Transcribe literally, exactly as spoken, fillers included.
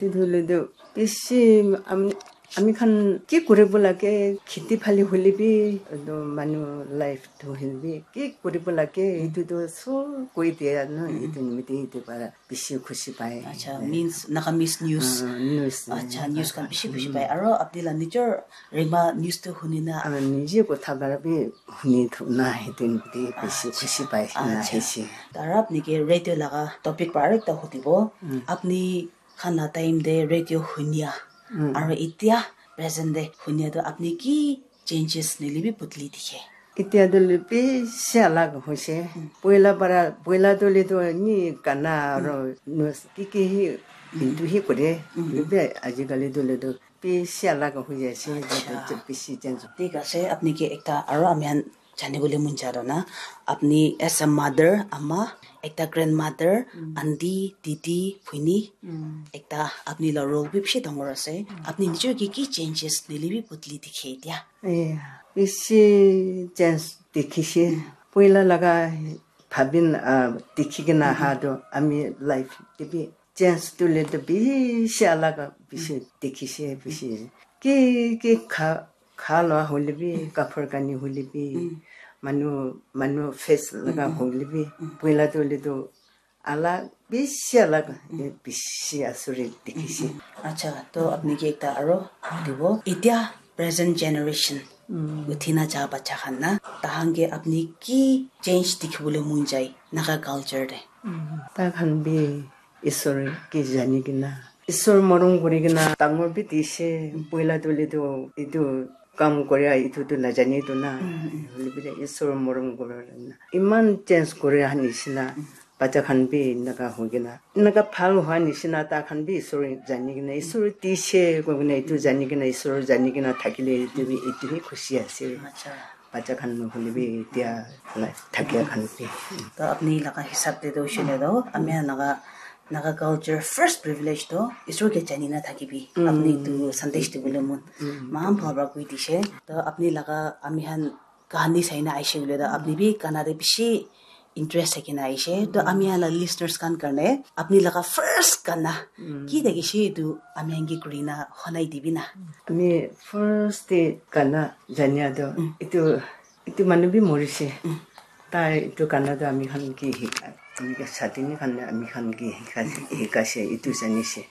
Etu hoile tu bishi ami, ami khan ki kuribo lage, kheti phali hoile bi, etu manu life tu hoile bi ki kuribo lage, etu tu sob koi dia na, etu nimite etu para bishi khushi pai. Acha, means Nagamese news. Ah, news. Acha, news khan bishi khushi pai. Aro apni la nijor rema news tu huni na. Ah, nije kotha para bi huni thu na, etu nimite bishi khushi pai na aise. Aro apni ke radio laga topic para ekta hudibo. Apni khan la time te radio hunia aro etia present te hunia tu apni ki changes nili bi bodli dikhe? Etia tu bishi alag hoise. Poila para, poila tu le tu ni gana aro news ki ki hi, hintu hi kore. Bishi alag hoi jaise. Bishi change. Thik ase, apni ke ekta aro ami khan jani bole mon ja toh na, apni as a mother, ama, ekta grandmother, aunty, didi, bhuni, ekta apni la role bi bishi dangor ase. Apni nijor ki ki changes nili bi bodli dikhe etia? Eh, bishi change dikhise. Poila laga bhabin, ah, dikhi kena aha toh ami life te bi change tu le tu bishi alag bishi dikhise, bishi. Ki, ki kha, kha lua hoile bi, kapur kani hoile bi, manu, manu face laga hoile bi, poila tu le tu alag, bishi alag, bishi asuri dikhise. Acha, to apni ke ekta aro dibo. Etia present generation uthi na ja bacha khan na, tahan ke apni ki change dikhi bole mon jai Naga culture te? Ta khan bi Isor ke jani kena, Isor morom kuri kena dangor bi dise. Poila tu le tu etu kam kore, etu tu najani tu na. Hoile bi Isor morom kuri na iman change kuri aha nishina. Bacha khan bi enaka hoi kena, enaka bhal hua nishina ta khan bi Isor jani kena, Isor dise koi kena, etu jani kena, Isor jani kena thakile etu bi, etu hi khushi ase. Acha. Bacha khan nohole bi etia life thakia khan bi. To apni laga hisab te to hoishe le to, ami Naga, Naga culture first privilege to Isor ke jani na thakibi. Apni tu sandesh dibole mon. Maan bhal para koi dishe. To apni laga ami khan kahani sai na aishe koile to, apni bi gana te bishi interest thaki na aishe. To ami khan la listeners khan karne apni laga first gana ki thakishe etu ami khan ke kuri na honai dibi na. Ami first te gana jania to etu, etu manu bi morishe. Tai etu gana to ami khan ke hika, ami ke satini khan, ami khan ke hika, hikashe, etu janishe.